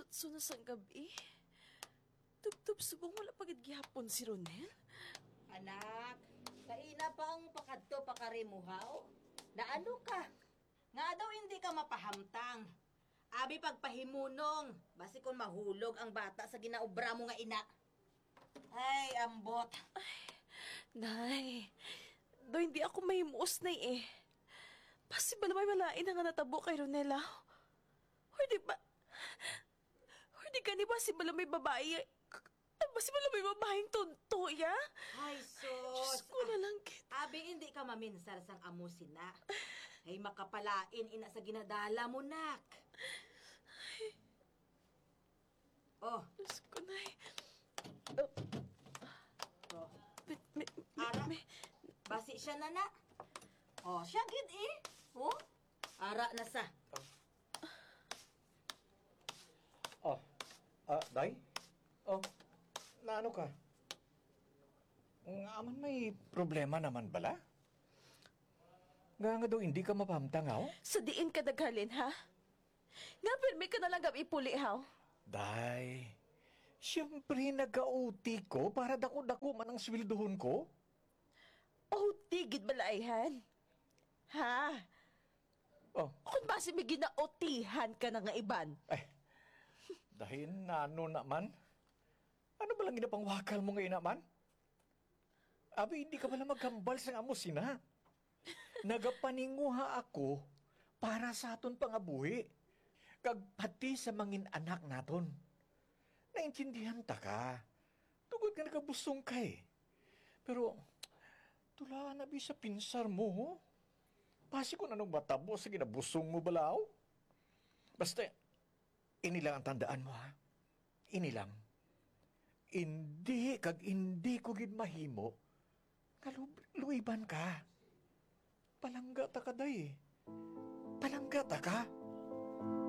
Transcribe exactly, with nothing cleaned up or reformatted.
Alas otso na sang gabi. Tubtob subong wala pa gid gihapon si Ronel. Anak, kaina pa ang pakadto pa kari mo, haw? Naano ka? Nga daw hindi ka mapahamtang. Abi pagpahimunong, basi kon mahulog ang bata sa ginaobra mo nga ina. Ay, ambot. Nay, do hindi ako mahimuos, Nay, eh. Basi bala may malain na nga natabo kay Ronel, ah. Or di ba, or di gani basi bala may babae, basi bala may babaeng tunto, ya? Ay, sus. Diyos ko na lang, kit. Abi, hindi ka maminsar sang amo sina. Ay, makapalain ina sa ginadala mo, nak. Oh. Diyos ko, Nay. Oh. Oh. May, may, may, Ara. may. Basi siya na na. Oh, siya gid eh. Oh. Ara na sa. Oh. Ah, day? Oh. Naano ka? Nga man may problema naman bala? Nga nga daw hindi ka mapamtangaw? Sa diin ka naghalin, ha? Nga pirmi ka na lang gab ipuli, haw? Day, siyempre nag-O T ko para dako-dako man ang sweldohon ko. O T gid bala, ayhan? Ha? Oh. Kung basi may gina-O T-han ka na nga iban. Ay, dahin na ano naman? Ano ba lang ginapanghwakal mo nga ina man? Abi, hindi ka pala maghambal sang amo sina. Nagapaninguha ako para sa aton pangabuhi, kag pati sa mangin anak naton. Naintindihan ta ka, tungod nga nagabusong ka eh. Pero, tulaan na bi sa pinsar mo, ho? Basi kung anong matabo sa ginabusong mo, balaw? Basta, ini lang ang tandaan mo, ha? Ini lang. Indi kag indi ko gid mahimo nga lub-, luiban ka. Palangga ta ka, day. Palangga ta ka.